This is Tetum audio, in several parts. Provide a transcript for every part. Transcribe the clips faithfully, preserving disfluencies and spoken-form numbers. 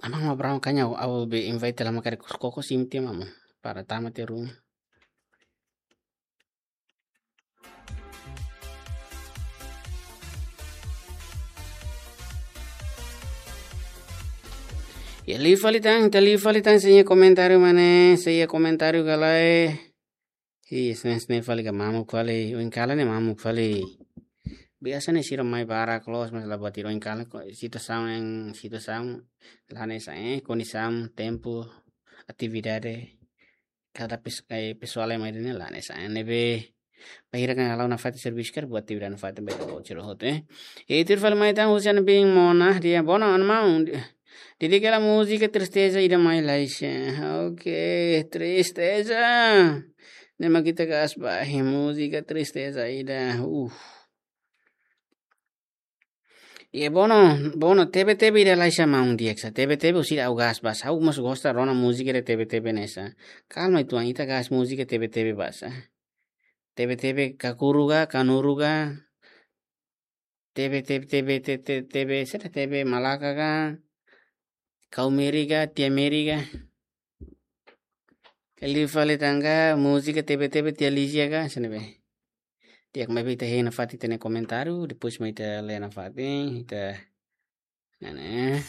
Maun Abraham, kaña au, au be invite la, mak karik koko sim te maun. Para tama te room. Ya, liu fali tan, ita liu fali tan, sei iha komentáriu mane, sei iha komentáriu ka lae. Ih, sne, sne fali ka mamuk fali, oin kalan ne'e mamuk fali. Biasa ne'e sira mai barak loos, mas la buat ida, oin kalan ko, situasaun yang, situasaun la hanesan, eh, kondisaun, tempu, atividade, kada pes-, eh, pesoál yang mai ne'e la hanesan, eh, ne'ebé bainhira kan halo nafatin servisu karik buat atividade nafatin ba ita-boot sira hotu, eh. E tuir fali mai tan husi ami-nia biin Mona, dehan: "Bono, maun, di-, di'ak hela múzika Tristeza ida mai, Laisha." Oke, Tristeza. Ne'e mak ita kaas ba, eh, múzika Tristeza ida. Uh. Iha Bono, Bono, Tebe-tebe ida, Laisha, maun, di'ak sa. Tebe-tebe husi ida ha'u kaas ba sa. Ha'u mós gosta rona múzika ida Tebe-tebe ne'e sa. Kalma uitoan, ita kaas múzika Tebe-tebe ba sa. Tebe-tebe kakuru ka, kanuru ka. Tebe, tebe, tebe, te-, te-, tebe, sira tebe malaka ka. Kau Meri ka, tia Meri ka. Liu fali tan ka, múzika Tebe-tebe tia Lizia ka, sene be. Di'ak, maibé ita hein nafatin ita-nia komentáriu, depois mai ita lee nafatin, ita, ne'e.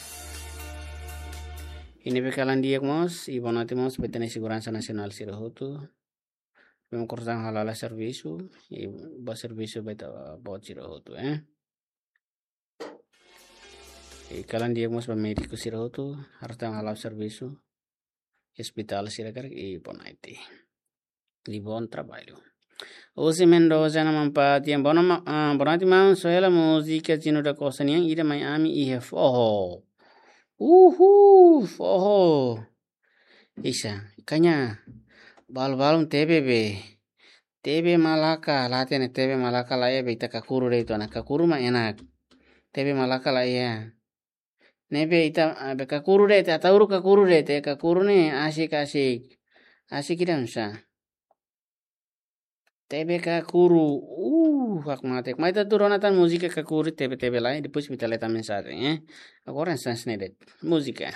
Ne'ebé kalan di'ak mós, i boa noite mós ba ita-nia seguransa nasionál sira hotu. Memang kurang halala servisu, i boa servisu ba ita-boot sira hotu, eh. I kalan di'ak mós ba médiku sira hotu, harus tang hala'o servisu. Ospitál sira karik, i boa noite. I bom trabalho. José Mendoza na Mampati, yang bono ma-, ah, boa noite, maun, só hela múzika Zino da Costa nian, ida mai ami iha foho. Uhul, foho. Isa, kaña, balu-balun tebe be. Tebe malaka, la hatene tebe malaka la iha be ita kakuru de'it ona, kakuru mak enak. Tebe malaka la iha. Ne'ebé ita, ah, be kakuru de'it, ita tauru kakuru de'it, kakuru ne'e asik, asik. Asik ida nusá. Tebe kakuru, uh, hak mate. Mai ita tuur ona tan múzika kakuru Tebe-tebe lai, depois ita lee tan mensajen, eh. Agora sans ne'e de'it. Múzika.